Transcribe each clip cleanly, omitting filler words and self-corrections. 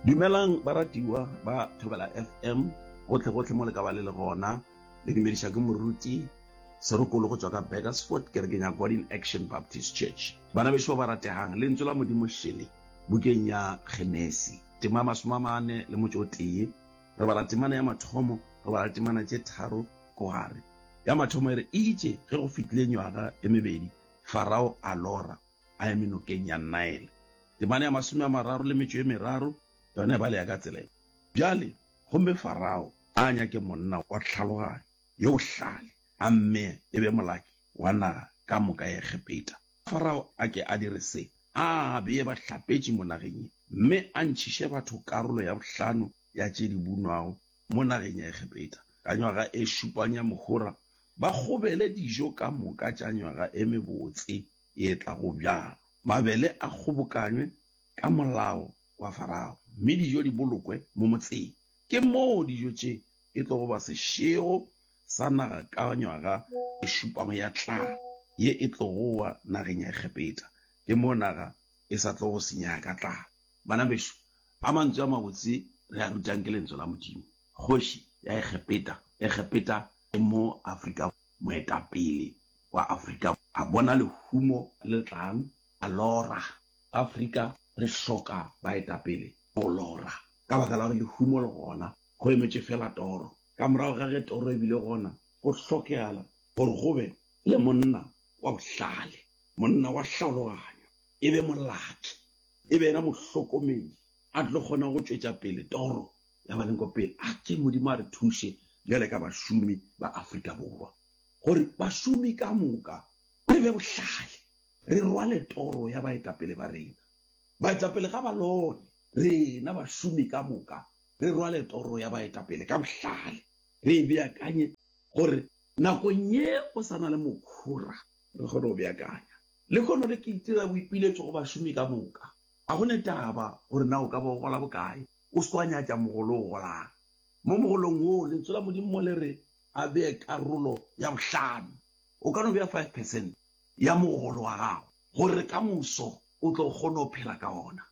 Dumelang baratiwa ba Thobela FM gohle-gohle mo le ka ba le le gona. Le dumediša ke moruti Serokolo go tšwa ka Burgersfort, kerekeng ya God in Action Baptist Church. Bana bešo ba ba rategang, lentswe la Modimo šele bukeng ya Genesi, tema ya masomamane le motšo o tee. Re bala temana ya mathomo, re bala temana tše tharo ko gare. Ya mathomo e re, Eitše ge go fetile nywaga e mebedi, Farao a lora a eme nokeng ya Nile. Temana ya 33 le metšo e meraro yona e baleya ka tsela ye, Bjale, gomme Farao a nyake monna wa tlhaloganyo, yo bohlale, a mmee e be molaki wa naga ka moka ya Egepeta. Farao a ke a dire se, A bee bahlapetši mo nageng ye, mme a ntšhiše batho karolo ya bohlano ya tše di bunwago mo nageng ya Egepeta. Ka nywaga e šupang ya mohora ba kgobele dijo ka moka tša nywaga e mebotse ye tlago bjalo. Mabele a kgobokanywe ka molao wa Farao, mme dijo di bolokwe mo motseng. Ke moo dijo tše e tlogo ba sešego sa naga ka nywaga e šupago ya tlala ye e tlogo wa nageng ya Egepeta. Ke moo naga e sa tlogo senyega ka tlala. Bana bešo, a mantswe a mabotse re a rutang ke Lentswe la Modimo. Kgoši ya Egepeta, Egepeta e mo Afrika, moetapele wa Afrika a bona lehumo le tlang, a lora. Afrika re hloka baetapele go lora, ka baka la gore lehumo le gona, go emetše feela toro. Ka morago ga ge toro e bile gona, go hlokegala gore go be le monna wa bohlale, monna wa hlaologanyo, e be molaki, e be yena mohlokomedi, a tlo kgona go tšwetša pele toro ya ba leng ko pele. A ke Modimo a re thuše bjale ka bašomi ba Afrika Borwa, gore bašomi ka moka re be bohlale, re rwale toro ya baetapele ba rena. Baetapele ga ba lore, rena bašomi ka moka re rwale toro ya baetapele ka bohlale, re e beakanye gore nakong ye go sa na le mokhora re kgone go beakanya. Lehono le ke itira boipiletšo go bašomi ka moka. Ga go ne taba gore na o ka ba o gola bokae, o se ke wa nyatša mogolo o golang. Mo mogolong woo, Lentswe la Modimo mo le re a bee karolo ya bohlano. O ka no bea five percent ya mogolo wa gago gore ka moso o tlo kgone go phela ka ona,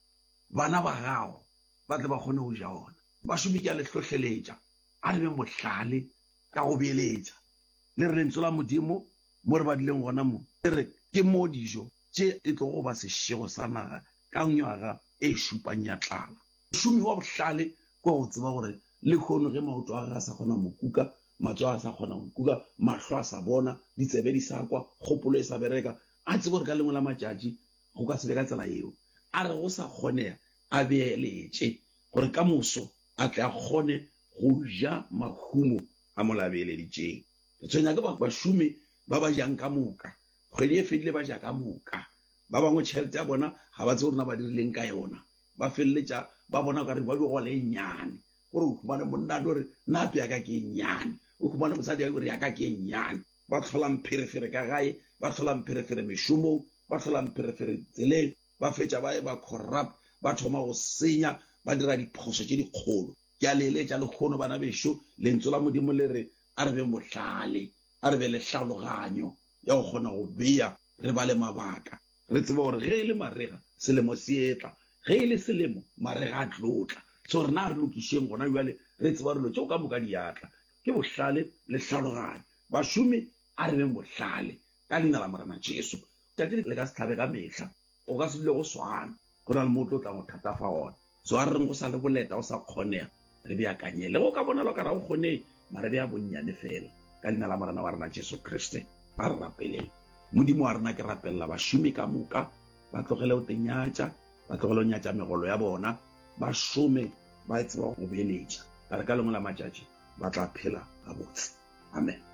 bana ba gago ba tle ba kgone go ja ona. Bašomi ke a le hlohleletša, a re beng bohlale ka go beeletša. Le re Lentswe la Modimo mo re badileng gona mo, le re ke mo dijo tše e tlogo ba sešego sa naga ka nywaga e šupang ya tlala. Mošomi wa bohlale ke wa go tseba gore lehono ge maoto a gagwe a sa kgona go mo kuka, matsogo a sa kgona go mo kuka, mahlo a sa bona, ditsebe di sa kwa, kgopolo e sa bereka, a tsebe gore ka lengwe la matšatši go ka se be ka tsela yeo. A re go sa kgonega a beeletše gore ka moso a tle a kgone go ja mahumo a mola a beeleditšeng. Re tshwenya ke bašomi ba ba jang ka moka. Kgwedi e fedile ba ja ka moka. Ba bangwe tšhelete ya bona ga ba tsebe gore na ba dirileng ka yona. Ba feleletša ba bona okare ba dio gola e nnyane. Gore o humane monna a tlo re, Nape ya ka ke e nnyane. O humane mosadi a re, Ya ka ke e nnyane. Ba hlola mpherefere ka gae, ba hlola mpherefere mešomong, ba hlola mpherefere tseleng. Ba fetša ba eba corrupt, ba thoma go senya, ba dira diphošo tše dikgolo. Ke a le eletša lehono, bana bešo, Lentswe la Modimo le re, A re beng bohlale, a re be le tlhaologanyo ya go kgona go bea, re bale mabaka, re tsebe gore ge e le marega, selemo se etla, ge e le selemo, marega a tlo tla. So rena a re lokišeng gona bjale, re tseba gore dilo tšeo ka moka di a tla. Ke bohlale le tlhaologanyo. Bašomi, a re beng bohlale, ka Leina la Morena Jesu. Tšatši le ka se hlabe ka mehla. Go ka se dule go swana. Go na le mo o tlo tlang go thatafa gona. So a re reng go sa le boleta, go sa kgonega, re beakanye. Le ge o ka bonala o ka re ga go kgonege, mara bea bonnyane feela. Ka Leina la Morena wa rena Jesu Kriste, a re rapeleng. Modimo wa rena, ke rapelela bašomi ka moka, ba tlogele go tenyatša, ba tlogele go nyatša megolo ya bona, ba šome ba tseba go beeletša. Ka re ka lengwe la matšatši ba tla phela gabotse. Amen.